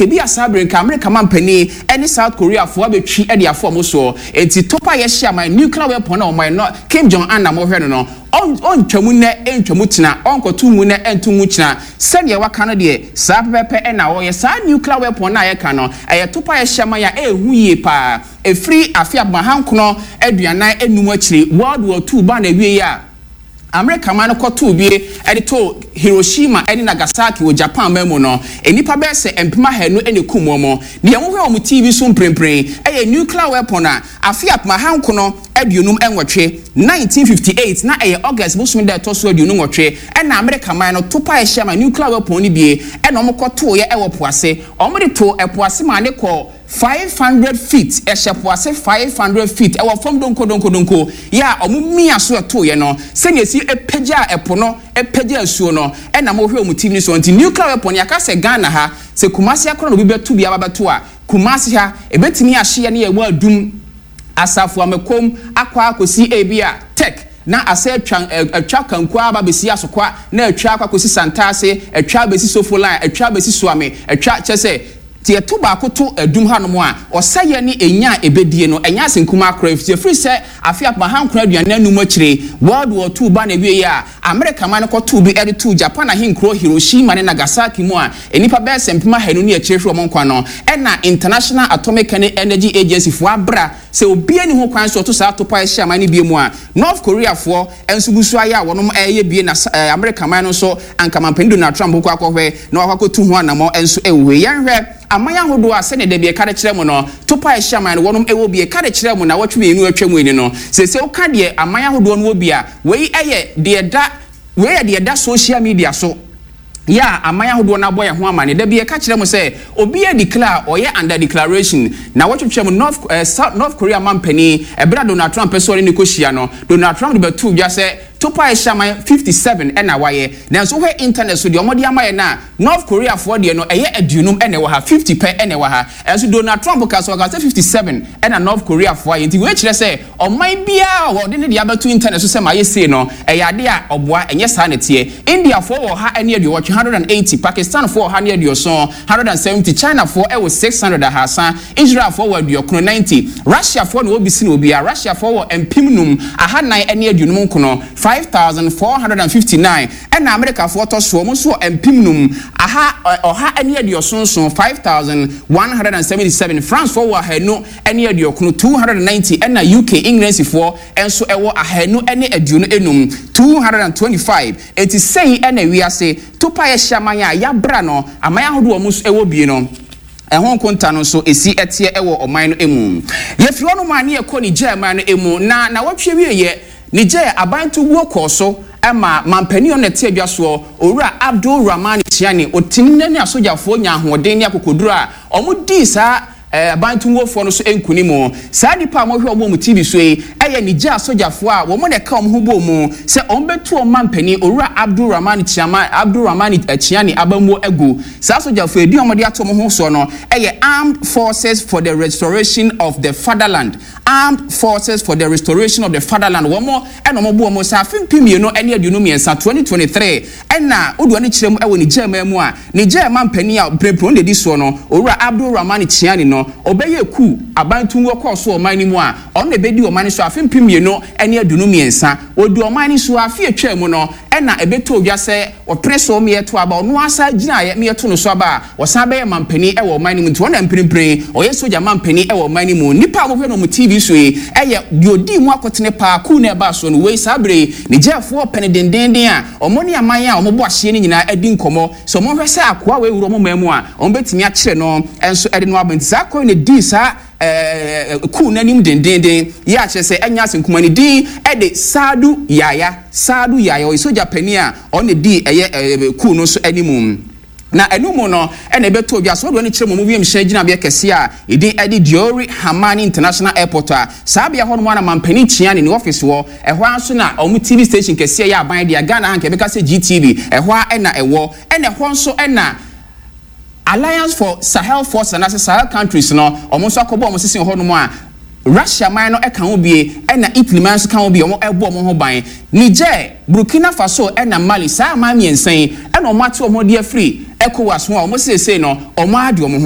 Ebia saa bere nka Amerika mampanin ne South Koreafoɔ abɛtwi de afa wɔn soɔ. Enti topa a yɛhyɛ aman, nuclear weapon a wɔn no Kim Jong Un na mohwɛ no no, ɔntwa mu nnɛ ntwa mu kyena, ɔnkɔto ngu nnɛ nto ngu kyena. Sɛdeɛ waka no deɛ, saa pɛpɛɛpɛ na ɔyɛ. Saa nuclear weapon no a yɛka no, ɛyɛ topa a yɛhyɛ aman a ɛyɛ hu yie pa ara. Ɛfiri afe apem 1945 akyiri, World War II baa n'awieeɛ a, Amerika man no kɔtow bi de too Hiroshima ne Nagasaki wɔ Japan man mu no, nnipa bɛyɛ sɛ 200,000 na ekum wɔn. Nea wohwɛ wɔ TV so mprempren yɛ nuclear weapon a afe 1958, 1958, na ɛyɛ August bosome da a ɛtɔ so 28, na Amerika man no tow pae hyɛɛ ma nuclear weapon no bi na wɔkɔtoeɛ wɔ po ase. Wɔde too po ase maa no kɔɔ 500 feet, ɛhyɛ po ase 500 feet, ɛwɔ fam donkodonkodonko, yɛ a wɔn mia so ɛtoeɛ no, sɛdeɛ ɛsi pagyaa ɛpo no, pagyaa asuo no, ɛna mohwɛ wɔn TV no soɔ. Nti nuclear weapon, yɛaka sɛ Ghana ha, sɛ Kumasi ha koraa na obi bɛto bi aba bɛto a, Kumasi ha, ɛbɛtumi ahye yɛne yɛn wɔ Adum, Asafo Amakom, akɔ akɔsi ebia Tech, na asɛ atwa, atwa Kanku aba abɛsi Asokwa, na atwa akɔ akɔsi Santase, atwa abɛsi Sofoline, atwa abɛsi Suame, atwa, kyerɛ sɛ, Sɛ yɛto baako to adum hanom a, ɔsɛeɛ ne enya a ɛbɛdie no, ɛnyɛ ase nkumaa koraa, ɛfiri sɛ afe 1945 akyire, World War Two baa n'awieeɛ a, Amerika man no kɔtoo bi de too Japan ahenkuro Hiroshima ne Nagasaki mu a nnipa bɛyɛ sɛ 200,000 ne akyire hwere wɔn nkwa no, ɛna International Atomic Energy Agency foɔ abra sɛ obiara nni ho kwan sɛ ɔto saa topae hyɛ aman no bio mu a, North Korea foɔ nso gu so ayɛ a wɔnom reyɛ bie na Amerika man no nso anka manpanin Donald Trump bɛkɔ akɔhwɛ na wakɔ akɔtu ho anamɔ nso wɔ hɔ yi. Yɛnhwɛ aman ahodoɔ a sɛdeɛ dabi ɛka de kyerɛ mo no, topae hyɛ aman no wɔnom wɔ bi. Ɛka de kyerɛ mo nawɔtwe mmienu a atwa mu ni no, seesei woka deɛ aman ahodoɔ no wɔ bi a, wei yɛ deɛ ɛda wei yɛ deɛ ɛda social media so. Yɛ a aman ahodoɔ no abɔ yɛn ho amane. Da bi yɛka kyerɛ mo sɛ obi a declare a ɔyɛ under declaration na wɔtwetwe mu North eh, South, North Korea mampanin ɛberɛ a Donald Trump pɛ sɛ ɔne no kɔhyia no, Donald Trump de bɛtoo dwa sɛ topa a ɛhyɛ aman 57 na wayɛ. Nanso wohwɛ internet so deɛ wɔde ama yɛn no a, North Koreafoɔ deɛ no ɛyɛ aduonum na ɛwɔ ha, 50 pɛ na ɛwɔ ha. Nanso Donald Trump ka sɛ ɔka sɛ 57 na North Koreafoɔ ayɛ. Nti wei kyerɛ sɛ Ɔman biara a wɔde ne deɛ abɛto internet so sɛ mayɛ sei no, ɛyɛ adeɛ a ɔboa, ɛnyɛ saa na ɛteɛ. Indiafoɔ wɔ 180, 180, Pakistanfoɔ 170, 170, Chinafoɔ wɔ 600, 300, Israelfoɔ wɔ 90, 90, Russiafoɔ na wɔwɔ bi sene obiara, Russiafoɔ wɔ 5459, 5,459, ɛna Amerikafoɔ tɔ soɔ, wɔn nso wɔ 5177, 5,177, Francefoɔ wɔ 200 ne 90, 290, ɛna UK, Englandsifoɔ, nso wɔ 225, 225. Enti sei na wiase topaeɛ hyɛ aman a yɛabra no, aman ahodoɔ a wɔn nso wɔ bie no, ɛho nkonta no nso ɛsi teɛ wɔ ɔman no mu. Yɛfiri hɔnom a ne yɛkɔ Niger man no mu, na nawɔtwe awieɛ, Niger aban tuguo kɔɔ so ma mampanin a ɔno na ɛte adwa soɔ, Owura Abdul Rahmani Tchiani, ɔtumi ne asogyafoɔ nyaa ahoɔden ne akokoduro a wɔdii saa Aban tumfoɔ no so nkonim. Saa nnipa a mohwɛ wɔn wɔ mo TV so yi yɛ Niger asogyafoɔ a wɔn na ɛka wɔn ho bɔɔ mu sɛ wɔbɛtu wɔn mampanin Owura Abdul Rahman Tchiama, Abdul Rahmani Tchiani abammuo agu. Saa asogyafoɔ yi, din a wɔde ato wɔn ho soɔ no yɛ Armed Forces for the Restoration of the Fatherland, Armed Forces for the Restoration of the Fatherland, wɔn na wɔbɔ wɔn saa afe 2023, 2023. Ɛna wode w'ani kyerɛ mu wɔ Niger man mu a, Niger manpanin a mprempren ɔno na edi soɔ no, Owura Abdul Rahmani Tchiani no, ɔbɛyɛɛ coup, aban tumwɔ kɔɔ so wɔ ɔman no mu a, ɔno na ɛbɛdii ɔman no so afe 2023. Ɔdii ɔman no so afe a ɛtwaa mu no, ɛna ɛbɛtɔɔ dwa sɛ ɔpene so ma yɛto aba, ɔno ara san gyinaeɛ ma yɛto no so aba a, ɔsan bɛyɛɛ manpanin wɔ ɔman no mu. Nti ɔno na mprempren ɔyɛ sogya manpanin wɔ ɔman no mu. Nnipa a wɔhwɛ no wɔ TV so yi yɛ deɛ ɔdii mu akotene paa, coup no a ɛbaa soɔ no, wei saa berɛ yi Nigerfoɔ pɛ no dendeenden a, Wɔne aman a wɔbɔ ahyeɛ no nyinaa adi nkɔmmɔ sɛ wɔnhwɛ sɛ akoa wei wura wɔn man mu a, wɔbɛtumi akyere no nso de no aba. Nti saa akoa yi na ɛdii saa kuw no anim dendeenden yi a kyerɛ sɛ ɛnyɛ asɛm kumaa. Ne din de Saadu Yaya. Saadu Yaya, ɔyɛ sogya panin a ɔno na ɛdii ɛyɛ kuw no nso anim. Na ɛno mu no na ɛbɛtɔ dwa sɛ wɔde wɔn ani kyerɛ wɔn wiemhyɛn gyinabea kɛseɛ a ne din de Diori Hamani International Airport a saa bea hɔ nom ara na Mampanin Tchiani ne office wɔ, ɛhɔ ara nso na wɔn TV station kɛseɛ yɛ aban dea, Ghana ha nka yɛbɛka sɛ GTV, ɛhɔ ara na ɛwɔ, ɛna ɛhɔ nso na Alliance for Sahel Forces anaasɛ Sahel countries no wɔn nso akɔbɔ wɔn sese wɔ hɔ nom a Russia man no ka ho bie ɛna Italy man nso ka ho bie wɔn ɛbɔ wɔn ho ban. Niger, Burkina Faso ɛna Mali saa aman mmiɛnsa yi ɛna wɔn ate wɔn ho de afiri ECOWAS ho a wɔn seesei no wɔn ade wɔn ho.